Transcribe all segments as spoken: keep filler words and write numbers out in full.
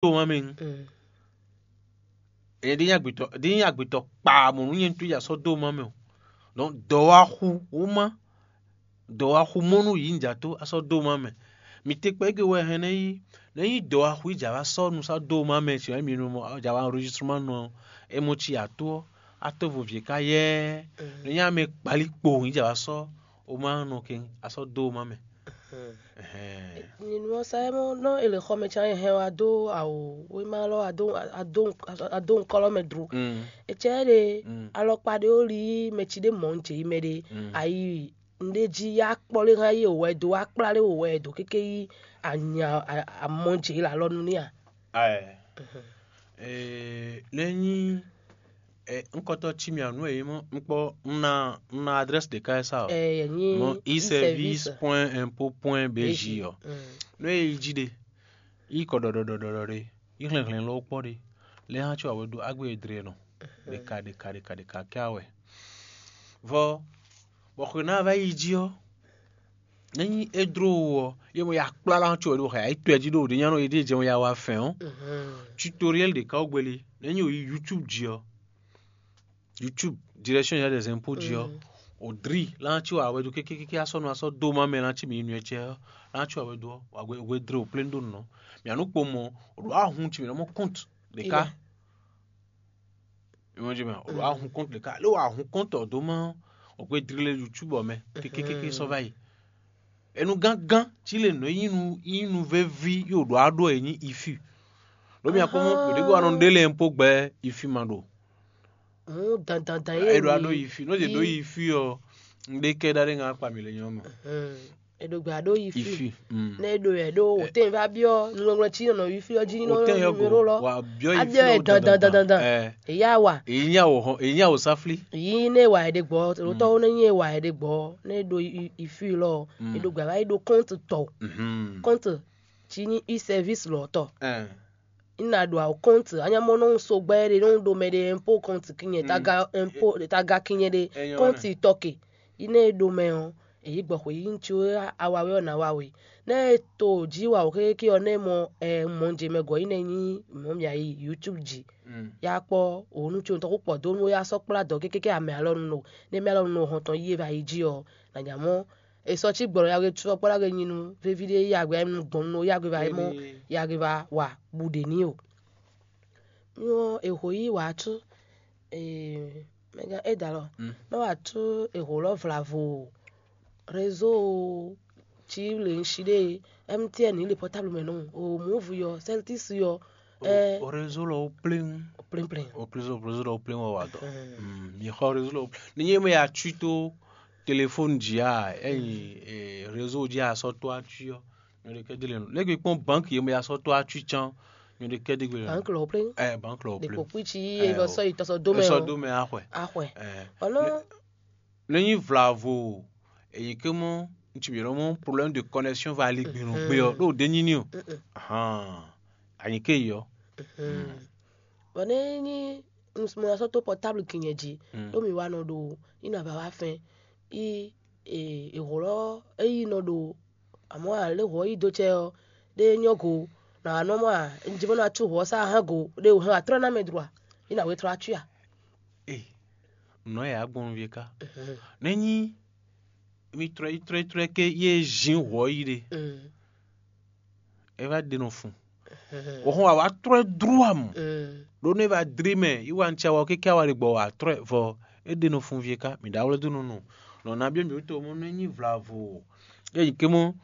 dó má mɛ. Mm. Ɛn ɖi nyí agbetɔ ɖi nyí agbetɔ kpaa mɔ nú nyɛ ntú ya sɔ́ dó má mɛ o. Donc dɔwaxu wúma dɔwaxu mɔ nú yǐ nja tó a sɔ́ dó má mɛ. Mi te kpɛ gbe wɛ hɛn nɛ yí nɛ yí dɔwaxu yí jà wá sɔ́ nu sɔ́ dó má mɛ si wɛ mi nu mɔ jà wá enregistrement nɔ é mɔ ci ato ɔ́ a tó vo vǐ ká yɛ́ɛ nɛ nyí amɛ kpali kpo yí jà wá sɔ́ o má nɔ kɛn a sɔ́ dó má mɛ. Ɛhɛn. Nyinú ɔ́ sá é mɔ nɔ è lě xɔ mɛ can hɛn wá dó awo wéma lɔ adó adó adó nkɔlɔ mɛ dro. Mm. Etsɛ ɖe Mm. alɔkpa ɖe ó li mɛ ci ɖe mɔ un jɛ yi mɛ ɖe Mm. ayi nɖe jí ya kpɔ lé hã yi wɛ dó wá kplá lé wɛ dó kéké yi anya amɔ jɛ yi la lɔ nu ní a. Aɛ. Ee, lé nyí ɛ ŋkɔtɔ cí mì anu e mɔ ŋkpɔ ŋna ŋna adresse ɖeka e sa ɔ. Ɛ yɛ nyi Mɔ iservice point impôt point bj ɔ. Mm. Nú e yi jí ɖe, yi kɔ ɖɔɖɔɖɔɖɔɖɔ ɖe, yi hlɛnhlɛn lɔ kpɔ ɖe, lɛ hã có awɛ ɖo agbe e dre nɔ ɖeka ɖeka ɖeka ɖeka kɛ awɛ. Vɔ bɔ xwe ná va yi jí ɔ, nɛ́ nyí é dló ɔ, yě mɔ ya kplá lá có wɛ ɖo xɛ ayǐ tɔɛ jí ɖo ɖě nyánɔ yě ɖíe jɛ mɔ ya wa fɛn ɔ́, tutoriel ɖě ká wú gbeli. Nɛ́ nyí o yi YouTube jí ɔ, YouTube direction générale des impôts jí ɔ, o dri lá có awɛ ɖo kékékéké asɔ́ nɔ asɔ́ dó má mɛ lá có mi yi nuyɛ cɛ ɔ́, lá có awɛ ɖo ɔ́, wa hwe dre o plé ɖó nǔ nɔ. Mǐ anú kpo mɔ o ɖo ahun ci mǐ nɔ mɔ compte ɖě ká. Imagine mɛ, o ɖo ahun compte ɖě ká lé o ahun compte ɔ́ dó má o gbé dri lé YouTube ɔ mɛ kékékéké sɔ́ va yi. Enu gángan cí lè nǔ e nyí nu nyí nu véví yi o ɖo aɖó e nyí ifi. Ɖó mi akpɔ́n mɔ ɖě ko anɔ ɖé lɛ po gbɛ ifi ma ɖo. Mú dandandan yé. E ɖo aɖó ifi, nɔ ɖe ɖó ifi ɔ, ŋɖé kɛ ɖa ɖé ŋa akpa mi le nyɔ mɛ. Eɖo gbe aɖó yi fi. Ifi. Mm. Ne eɖo yɛ ɖo wòtɛn va byɔ nulɔnlɔn ci nɔ yi fi ɔ dzi nɔ Wòtɛn yɔ go. Numéro lɔ. Wa byɔ yi fi abyɔ yɛ ɔ dandan dandan dandan. Ɛ. Eya wa. Èyí ní àwò hàn, èyí ní àwò sáflí. Yi ne wa yɛ ɖe gbɔ lótɔ wo ne nyi wa yɛ ɖe gbɔ ne ɖo yi fi lɔ Mm. Eɖo gbe va yi ɖo compte tɔ Mhm. Compte ci nyi e-service lɔ tɔ. Ɛ. Ina ɖo awo compte anyamɔ nɔ so gbɛ ɖe nɔ ɖo mɛ ɖe impôt compte kinyɛ taga impôt taga kinyɛ ɖe Enyɔ compte nɛ. Tɔke. Ine e ɖo mɛ ɔ èyí gbɔ xwe yí ŋutsu e awa wɛ ɔ na wa we. Ne e to jí wa wò xéké ɔ ne mɔ ɛ mɔ jɛ mɛ gɔ yi ne nyi mɔ mia yi YouTube jí. Mm. Ya kpɔ òun nu tso ntɔ kpɔ do nu ya sɔ kpla dɔ kékéké amɛ alɔ nu no ne mɛ alɔ nu no hɔn tɔn yi e va yi jí ɔ na nya mɔ e sɔ cí gbɔlɔ ya we sɔ kpla ge nyi nu vevi ɖe ya gbe nu gbɔn nu ya gbe va yi mɔ ya gbe va wa bu ɖe ni o. Nyɔ eho yi wàá tú mɛgán é dalɔ nɔ wàá tú eho lɔ vlavo réseau ci le ŋsi ɖe MTN le portable mɛ nɔ o Moov yɔ, Celtics yɔ. Ɛ o réseau lɔ wo pléŋ. Pléŋ pléŋ. O réseau o réseau lɔ wo pléŋ wɔ wa dɔ. Mi xɔ réseau lɔ wo pléŋ ni nyɛ mɛ ya tui to téléphone jí a ɛyi réseau jí a sɔ to atui ɔ. Nyɔɖe kɛ délé nu lɛ́ gbe kpɔ́n banque yě mɛ ya sɔ́ tó acu cán. Nyɔɖe kɛ dé gbe banque lɔ plé ɛ banque lɔ plé ɖeko kpítsi ye vɔ sɔ yi tɔsɔ dó mɛ sɔ dó mɛ axɔɛ axɔɛ ɛ ɔnɔ lɛ nyi vlavo èyí ké mɔ ŋutsu mi lɔ mɔ problème de connexion va ali gbinu gbé ɔ ɖo dé nyini o ahan anyi ké yi ɔ. Bɔ ne nyi mo sɔ to portable kinyɛ ji ɖo mi wa nɔ ɖo ina va wa fɛn yi ehlɔ eyi nɔ ɖo amɔ̌ a lě hwɔ̌ yí dó cɛ ɔ́, ɖé é nyɔ́ go, nǎ wá nɔ mɔ a? Un ji bó ná cú hwɔ̌ sá hán go, ɖé wǔ hɛn wǎ tlɔ́ ná mɛ dro a? Yě nǎ wé tlɔ́ acwí a? Ee, nǔ ɔ́ yǎ gbɔn nú ká. Nɛ̌ nyí mi tlɔ́ yi tlɔ́ yi tlɔ́ yi ké yé zín hwɔ̌ yí ɖe? É vá ɖe nɔ fun. Wǒ hɔn wǎ wá tlɔ́ ɛ dlú amɔ. Ɖó nú é vá dlí mɛ yi wá nú cɛ wá ké ká wá ɖe gbɔ wǎ tlɔ́ ɛ vɔ é ɖe nɔ fun vie ká mǐ ɖó awlɛ́ dó nɔ nu. Nɔ ná byɔ́ mǐ wú to mɔ nú é nyí vlavo é nyí ké mɔ.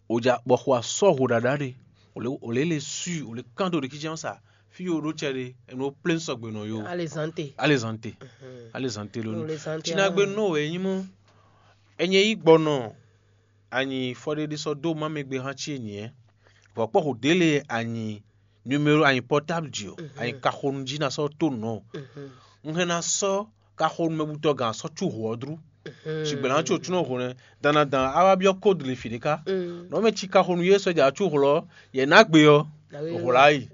Ò ja bɔ xo asɔ́ ho ɖaɖa ɖe ò lě ò lě le sui ò lě kán do ɖe kíjɛ́n sa fí yo ɖó cɛ ɖe è nɔ plé sɔgbe nɔ yo. Alezante. Alezante. Alezante lónìí. Tinagbe nɔ wɛ nyí mɔ. Enye yí gbɔnɔ anyi fɔɖéɖé sɔ́ dó má mɛ gbe hán cí e nyǐ ɛ. Vɔ̌ kpɔ́ ho dě lě anyi numéro anyi portable jí o, anyi kaxonu jí ná sɔ́ tó nǔ ɔ́. Un hɛn ná sɔ́ kaxonu mɛ butɔ́ gǎn sɔ́ cú hǒ ɔ́ dlú. Sigbɛ̌ ná có cúnɔ hǒ nɛ́, dan ná dan á wá byɔ́ kódu le fǐ ɖé ká. Nɔ̌ mɛ cí kaxonu yé sɔ́ jà cú hlɔ́, yɛ ná gbe ɔ́, hǒ lá yi.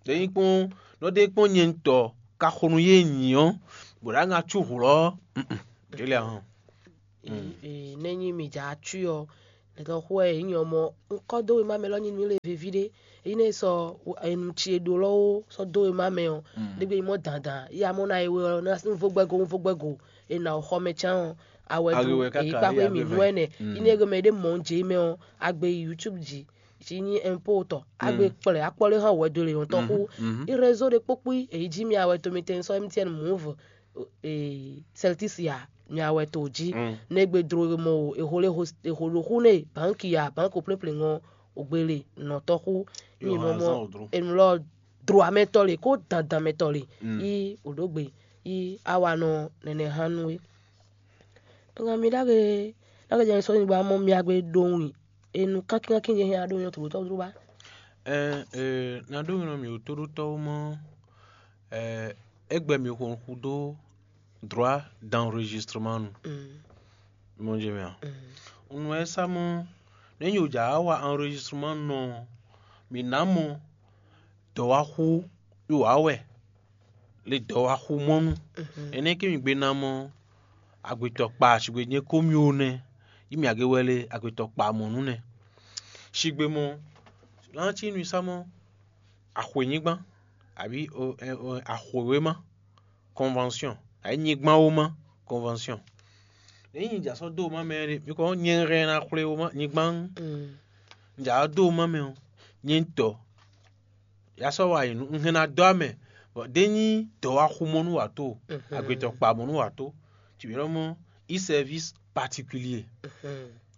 Ɖé nyí kpɔ́n nɔ ɖé kpɔ́n nyɛ ŋutɔ kaxonu yé nyǐ ɔ́, bɔ ɖǎ ŋa cú hlɔ́. Délé ahɔn. Nɛ́ nyí mi jǎ acwí ɔ́, Ɖɛ̌tɔ́ xú wɛ yě nyí ɔ́ mɔ, un kɔ́ dó wěma mɛ lɔ nyi nǔ lě veví ɖé. Ényí nɛ́ sɔ enu ce ɖó lɔ́ ó sɔ́ dó wěma mɛ ɔ́, ɖé gbe nyí mɔ́ dandan, yí amɔ́ ná e we ɔ́ ná un vo gbɛgo, un vo gbɛgo, è nǎ xɔ mɛ cán ɔ́, awɛ dó èyí kpáxwé mǐ nú ɛnɛ. Ényí nɛ́ gbe mɛ ɖé mɔ̌ jě mɛ ɔ́, a gbe yi YouTube jí, jí nyí ɛnpó tɔ, a gbe kplɛ akpɔ́ lé hán wɛ̌ dó lě nyɔ̌tɔn xú. Í réseau ɖé kpókpí èyí jí mi awɛ to mitɛn sɔ́ M T N Move, Celtics ya mi awɛ to jí. Nɛ́ gbe dló mɔ o, è ho lé ho è ho ɖo xú nɛ bǎnki ya bǎnko plɛ́nplɛ́n ɔ́, ògbélé nɔtɔ́ xú. Mì mɔ mɔ enu lɔ dló amɛtɔ́ lě kó dandan mɛtɔ́ lě. Yí òɖógbe yí awanɔ nɛnɛ hán nú é. Ngan mi ɖagbe ɖagbe jɛ sɔ́ nyigba mɔ mi agbe ɖo win enu kankinkankin jɛ hɛn aɖo nyɔ tòlótɔ́ dló ba. Ɛɛ, ɛɛ, na ɖó nɔ mì wǒ tóɖótɔ́ wú mɔ, ɛɛ, égbɛ mì xo xu dó droit d'enregistrement nu. Mɔ jɛ mɛ a? Un nɔ ɛ sá mɔ nɛ́ nyi wǒ jǎ wa enregistrement nɔ ɔ́, mǐ ná mɔ dɔ̌wáxú wá wɛ le dɔ̌wáxú mɔ nu. Énɛ́ ké mì gbe ná mɔ agbetɔ kpa sigbe nyɛ kó mì ó nɛ́, yí mì agě wɛ le agbetɔ kpa mɔ nú nɛ́. Sigbe mɔ, ná cí nú sá mɔ axwěnyígbán, abǐ axwěwéma, convention, abǐ nyigbanwóma, convention. Ényí un ja sɔ́ dó wěma mɛ ɖé, mi kɔ nyɛ hɛn ná xwlé wěma nyigban. Un ja dó wěma mɛ ɔ́, nyɛ tɔ ya sɔ́ wa yi nǔ, un hɛn ná dó amɛ, bɔ ɖé nyí dɔ̌wáxú mɔ nú wǎ tó, agbetɔ kpa mɔ nú wǎ tó. Ci bǐ ɖɔ mɔ i service particulier.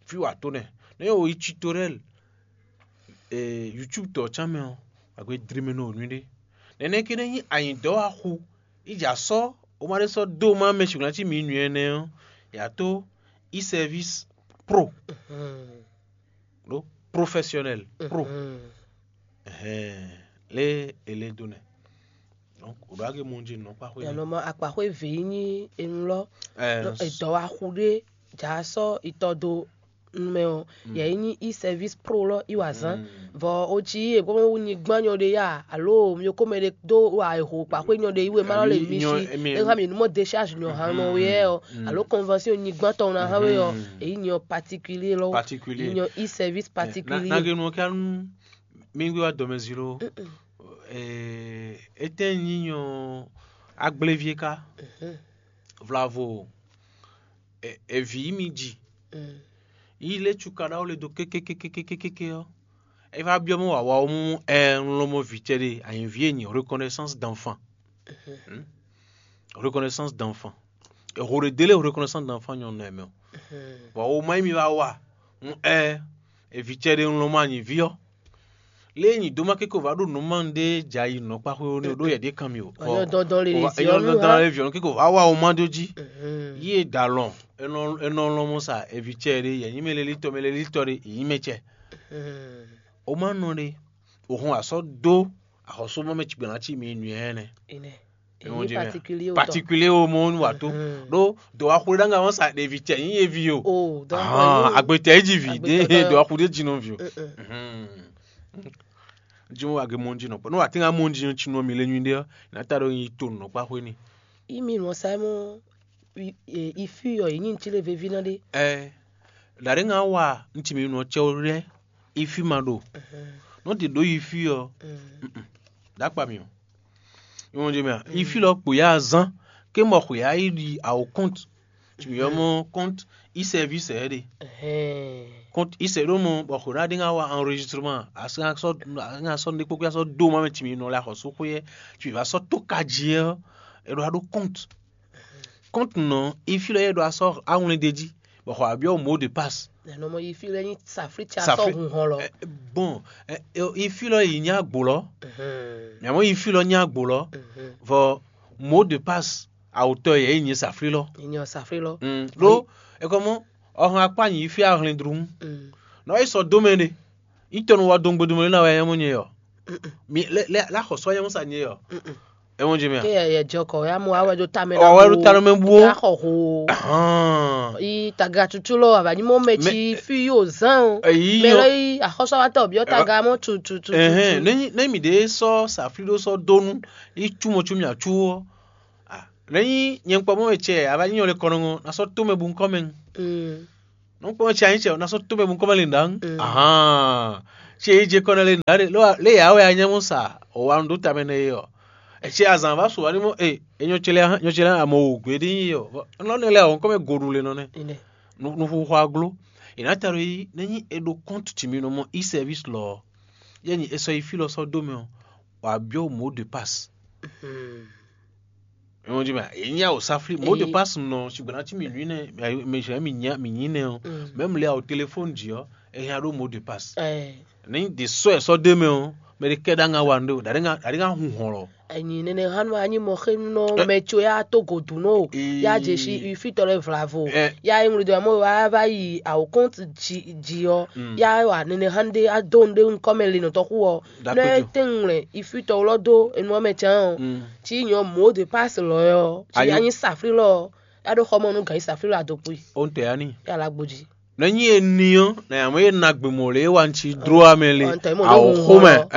Fí wǎ tó nɛ. Nɛ yɛ wo yi tutoriel YouTube tɔ cán mɛ ɔ́, agbe dri mɛ nɔ nǔɖé. Nɛnɛ ké nɛ nyí anyǐdɔ́ wá xú, yi ja sɔ́ o ma ɖé sɔ́ dó ma mɛ sǐgbla cí mi nǔ ɛnɛ ɔ́, yǎ tó i service pro, ɖó professionnel pro. Ɛhɛn, lé e lé dó nɛ. Donc o ɖo age mɔ jí nɔ kpa xwé. Yɛnɔ ma akpa xwé ve yi nyi enu lɔ. Ɛɛ, edɔ wa xu ɖé ja sɔ itɔ do numɛ ɔ, yɛ yi nyi i service pro lɔ i wa zan. Vɔ o ci yi e gbɔmɔ wu nyi gbanyɔ ɖe ya alo mi ko mɛ ɖe do wa eho kpa xwé nyɔ ɖe yi we ma lɔ le mi si e ha mi numɔ décharge nyɔ han nɔ we yɛ ɔ, alo convention nyi gbantɔ na ha we ɔ, eyi nyɔ particulier lɔ. Particulier. Nyɔ i service particulier. Nage nɔ kɛ nu mi gbé wa dɔmɛ zi lo. Etɛn nyi nyɔ agblevie ka. Vlavo, evi yi mi ji. Yi lé cukaɖawo le do kékékékékékéké ɔ, e va byɔ́ mɔ wǎwá ɔ́ mú ɛ un lɔn mɔ vǐ cɛ ɖe anyǐví e nyi reconnaissance d'enfant. Reconnaissance d'enfant. Eho ɖe délé reconnaissance d'enfant nyɔnu ɛ mɛ o. Vɔ o ma yi mi va wa un ɛ evi cɛ ɖe un lɔn mɔ anyǐví ɔ́. Lé nyi dó má kéko vǎ ɖo nǔ ma ɖé jɛ ayi nǔ kpáxwé ó nɛ́ ɖó yɛ ɖě kan mì o. Ɔyɔ dɔndɔn lè zi ɔnu dɔndɔn ha lè viɔnu kéko vǎ wa o má dó jí. Yí e da lɔn enɔ enɔ lɔn mɔ sa evi cɛ ɖé yɛ nyí mɛ lé lítɔ mɛ lé lítɔ ɖé yí mɛ cɛ. O má nɔ ɖé o hɔn asɔ dó axɔsúmɔ mɛ cigbɛna cí mi nǔ yɛ nɛ. Èyí ní particulier o tɔ. Particulier o mɔ nu wa tó. Ɖó dɔwaxu ɖe ɖanga wɔn sa ɖevi cɛ nyí evi o. O dɔn agbetɛ yi ji vi ɖe dɔwaxu ɖe dzi nɔ vi o. Dzi mo age mɔ dzi nɔ kpɔ nɔ wa tɛnga mɔ dzi nɔ tsi nɔ mi le nyui ɖe ɔ na ta ɖo nyi to nɔ kpa xwe ni. Imi nɔ sa mɔ ifi yɔ yi nyi ntsi le vevi na ɖe. Ɛ ɖaɖe ŋa wa ntsi mi nɔ tsɛ o lɛ ifi ma ɖo nɔ de ɖo ifi yɔ. Ɖakpa mi o. Ìwọ̀n jẹ́ mi à ifi lɔ kpò ya zán ké mɔ xwe ya yi ɖi àwò compte. Tìmí yɔ mɔ compte i service ɛ ɖe. Compte i sɛ ɖo mɔ bɔ xwe ɖa ɖe ŋa wa enregistrement asɔ asɔ asɔ ne kpokpo asɔ do ma mɛ tìmí nɔ lɛ axɔsó xwe yɛ tìmí va sɔ tó ka jí ɛ ɛ ɖo aɖo compte. Compte nɔ ifi lɔ yɛ ɖo asɔ awlɛn ɖe jí bɔ xɔ abiɔ mot de passe. Nɔmɔ yi fi lɛ nyi safli tsa sɔ hun hɔn lɔ. Bon, ifi lɔ yi nya agbo lɔ. Mɛ mɔ ifi lɔ nya agbo lɔ. Vɔ mot de passe awutɔ yɛ yi nyi safli lɔ. Yi nyi safli lɔ. Ɖo ekɔmɔ ɔhɔn akpa nyi ifi ahlɛndrun. Nɔ yi sɔ domɛ ɖe. Itɔnu wa dɔn gbedomɛ na wɛ yɛ mɔ nyɛ yɔ. Mi lɛ lɛ la xɔ sɔ yɛ mɔ sa nyɛ yɔ. Ɛ mɔ jɛ mɛ. Ke yɛ jɔ kɔ ya mu awɛ do tamɛ. Ɔ wɛ do tamɛ mɛ bu. Ya xɔ ho. Ahan. Yi taga tutu lɔ aba nyi mɔ mɛ tsi fi yo zan o. Eyi mɛ lɔ yi axɔsɔ wa tɔ biɔ taga mɔ tu tu tu. Ɛhɛn ne ne mi de sɔ safli do sɔ donu yi tu mɔ tu mi atu o. Ne yi nyɛ kpɔ mɔ mɛ tsɛ aba nyi nyɔ le kɔnɔ ŋɔ na sɔ to mɛ bu nkɔ mɛ. Nukpɔ́n ce anyí ce ɔ́, ná sɔ́ tómɛ mukɔ́mɛ linda ŋu. Ahán. Ce yi je kɔ nɛ linda ɖe, lé yà wɛ anyɛ́mú sa, o wa nu dó tamɛ nɛ e ɔ́. Ece azǎn va su wá ní mɔ e enyɔ ce lɛ ahan nyɔ ce lɛ amɔ o gbé ɖi yi ɔ́. Nɔ nɛ lɛ ɔ́ kɔmɛ goɖu le nɔ nɛ. Nufuxu aglo. È nǎ ta ɖo yi nɛ nyi e ɖo kɔ́ntu ci mi nɔ mɔ e-service lɔ ɔ́. Yɛ nyi e sɔ yi fí lɔ sɔ́ dó mɛ ɔ́, wǎ byɔ́ mot de passe. Ewɔn jí mɛ, èyí nyí awòsáflí. Mot de passe nɔ ṣùgbọ́n ná tí mi nú nɛ, mi ṣe mi nyí mi nyí nɛ ɔ́. Même lé awo téléphone jí ɔ́, e hɛn ɖó mot de passe. Ní de sɔ ɛ sɔ dé mɛ ɔ́, mɛ ɖé kɛ ɖá ŋa wa nɖó ɖaɖé ŋa hun hɔn lɔ. Enyi nene hanu anyi mɔ xe nɔ mɛ tso ya to godu nɔ o. Ya dze si ifitɔ lɛ vlavo. Ya e ŋlɔ do amɔ wa va yi awo compte ji ji ɔ. Ya wa nene hanu de ado nde nkɔ mɛ le nɔ tɔxu ɔ. Nɔ e tɛn ŋlɛ ifitɔ lɔ do enu ɔmɛ can ɔ. Ci nyɔ mot de passe lɔ ɔ. Ci anyi safri lɔ ɔ. Ya ɖo xɔmɔ nu gan yi safri lɔ adokpui. O n tɛ ani. Ya la gbodzi. Nɔ nyi e ni ɔ́, na yǎmɔ e na gbe mɔ lě wa ŋci dro amɛ le. Awo xomɛ.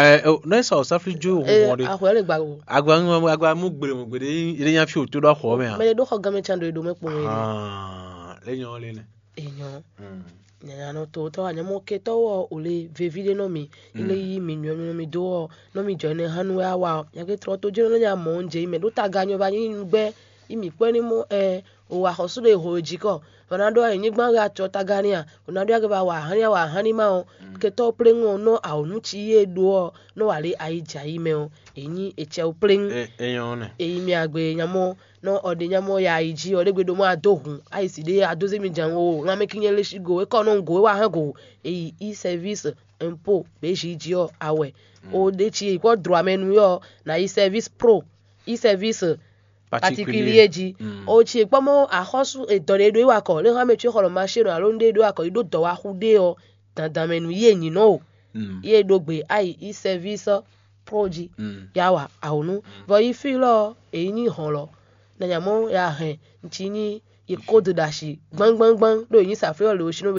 Nɔ sa o safli jo o hɔn de. Ahwɛ le gba o. Agba agba mu gbele mɔ gbede yi ɖe nya fi o to ɖo axɔ mɛ a. Mɛ ɖe ɖo xɔ gamɛ can ɖo eɖo mɛ kpɔn yi. Lé nyɔ lé nɛ. Enyɔ. Nyanya nɔ to tɔ anyamɔ ketɔ wɔ o le vevi ɖe nɔ mi. Ile yi mi nyɔ mi nɔ mi do ɔ nɔ mi jɔ ne hanu wɛ awa ɔ. Nyake trɔ to jɛ nɔ nya mɔ nje yi mɛ ɖo taga nyɔ va nyi gbɛ yi mi kpɛ ni mɔ ɛ. O wa xɔsú ɖe ho e jí kɔ. Bɔ ná ɖó anyigban wɛ acɔ taga ní a? O ná ɖó agɛ ba wa ahán ní a wa ahán ní ma ɔ. Ketɔ pléŋu ɔ nɔ awǒ nú ci yé ɖó ɔ nɔ wa lé ayi jɛ ayi mɛ ɔ. Èyí nyí etsɛ o pléŋu. Èyí mi agbe nyamɔ nɔ ɔɖe nyamɔ ya ayi jí ɔ ɖé gbe ɖo mɔ adó hun ayi si ɖé adó zé mi jan o lanmɛ kí nyɛ lé sí go é kɔ nɔ go é wa hán go. Èyí i sɛvis impo bě zi jí ɔ awɛ. O ɖe ci yi kɔ dro amɛ nu yɔ na i sɛvis pro i sɛvis particulier jí. O ci kpɔmɔ axɔ́sú edɔ ɖe ɖo wa kɔ lé hã mɛ tso xɔlɔ machine alo ɖe ɖo wa kɔ yi ɖo dɔwaxu ɖe ɔ dandan mɛ nu yé nyinɔ o. Yé ɖo gbe ayi i sɛvis pro jí ya wa awonu. Vɔ yi fi lɔ èyí ní hɔn lɔ na nyamɔ ya hɛn ntsi ní yi kódo ɖo asi gbangbangbang ɖo yi ní saflɛ lɔ le o sinɔ